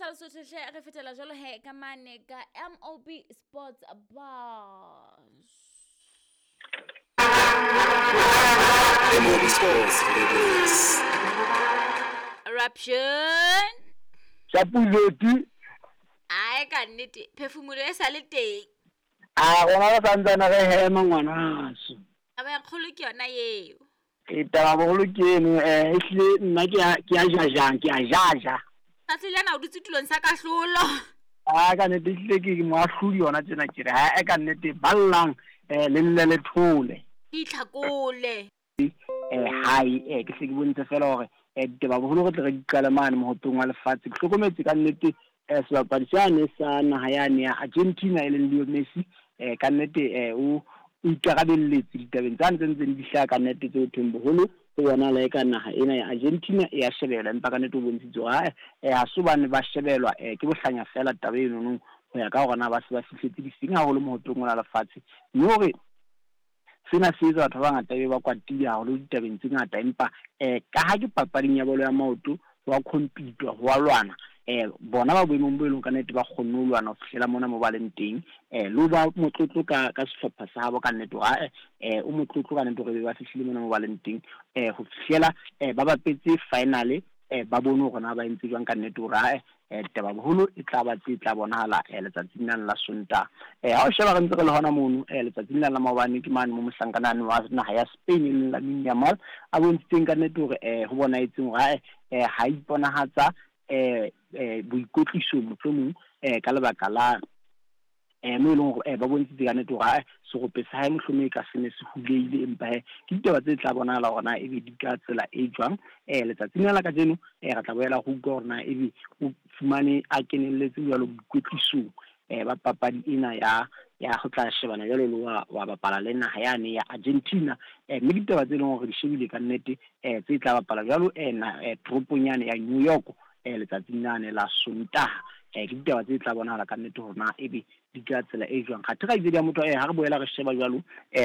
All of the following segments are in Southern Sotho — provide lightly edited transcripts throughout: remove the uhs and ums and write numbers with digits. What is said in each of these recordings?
sa Lesotho hle re fetela jalo he ka mane ka MOB Sports Bars. MOB Sports Rebels. Eruption. Chapuleti. Ae ka nnete phefumolo e sa le teng. A rona re santsane re hema ngwanaso. Taba ya kgolo ke yona eo. E taba bogolo ke eno e hlile nna ke a ke a jajang ke a jaja. Tsatsi lena o dutse tulong sa kahlolo. A ka nnete ehlile ke moahlodi yona tjena ke re ha e ka nnete ballang le lle le thole. Ke itlhakole. Hai ke hle ke bontshe fela hore ditaba boholo re tle re di qale mane mohopeng wa lefatshe. Ke hlokometse ka nnete sebapadi sane sa naha yane ya Argentina e leng Leo Messi ka nnete o o ikarabelletse ditabeng tsane tse ntseng di hlaha ka nnete tse ho thweng boholo ho bonahala eka naha ena ya Argentina e ya shebelwa empa ka nnete o bontshitse hore ha ha se hobane ba shebelwa ke bohlanya fela taba eno ho ya ka hore na ba se ba fihletse difeng haholo mohopeng ona lefatshe mme hore Sena se etsa batho ba bangata ebe ba kwatile haholo ditabeng tse ngata, empa ka ha ke papading ya bolo ya maoto, ho a khompitwa, ho a lwana. Bona ba boemong bo e leng ka nnete ba kgonne ho lwana ho fihlela mona mo ba leng teng. Le ho ba motlotlo ka ka sehlopha sa habo ka nnete hore ae o motlotlo ka nnete hore ebe ba fihlile mona mo ba leng teng. Ho fihlela ba bapetse finale ba bone hore na ba entse jwang ka nnete hore ae taba boholo e tla ba tse tla bonahala letsatsing lane la Sontaha. Ha o sheba re ntse re le hona mono letsatsing lane la maobane ke mane mo mohlankana wa naha ya Spain e leng Lamine Yamal a bontshitseng ka nnete hore ho bonahetseng hore ae ha iponahatsa boikwetlisong mohlomong ka lebaka la mo e leng hore ba bontshitse ka nnete hore ae serope sa hae mohlomong e ka se ne se huleile, empa he ke ditaba tse tla bonahala hore na ebe di ka tsela e jwang. Letsatsing la kajeno re tla boela re utlwa hore na ebe o fumane a kenelletse jwalo boikwetlisong ba papadi ena ya ya ho tla shebana jwalo le wa bapala le naha yane ya Argentina. Mme ditaba tse leng hore di shebile ka nnete tse tla bapala jwalo na toropong yane ya New York letsatsing lane la Sontaha. Ke ditaba tse tla bonahala ka nnete hore na ebe di ka tsela e jwang. Kgathe kgaitsedi ya motho ha re boela re sheba jwalo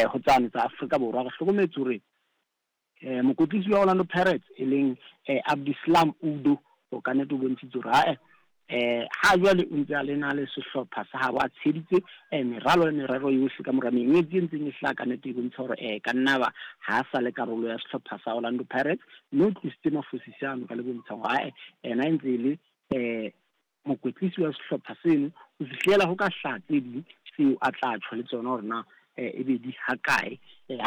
ho tsane tsa Afrika Borwa, re hlokometse hore mokwetlisi wa Orlando Pirates e leng Abdeslam Udo o ka nnete o bontshitse hore ae ha jwale o ntse a le na le sehlopha sa habo a tsheditse meralo le merero yohle ka mora mengwetsi e ntseng e hlaha ka nnete e bontsha hore ka nna ba ha sa le karolo ya sehlopha sa Orlando Pirates, mme o tlositse mafosisi ano ka le bontshang hore ae ena e ntse e le mokwetlisi wa sehlopha seno ho fihlela ho ka hlaha tse ding tseo a tla tjho le tsona hore na ebe di hakae.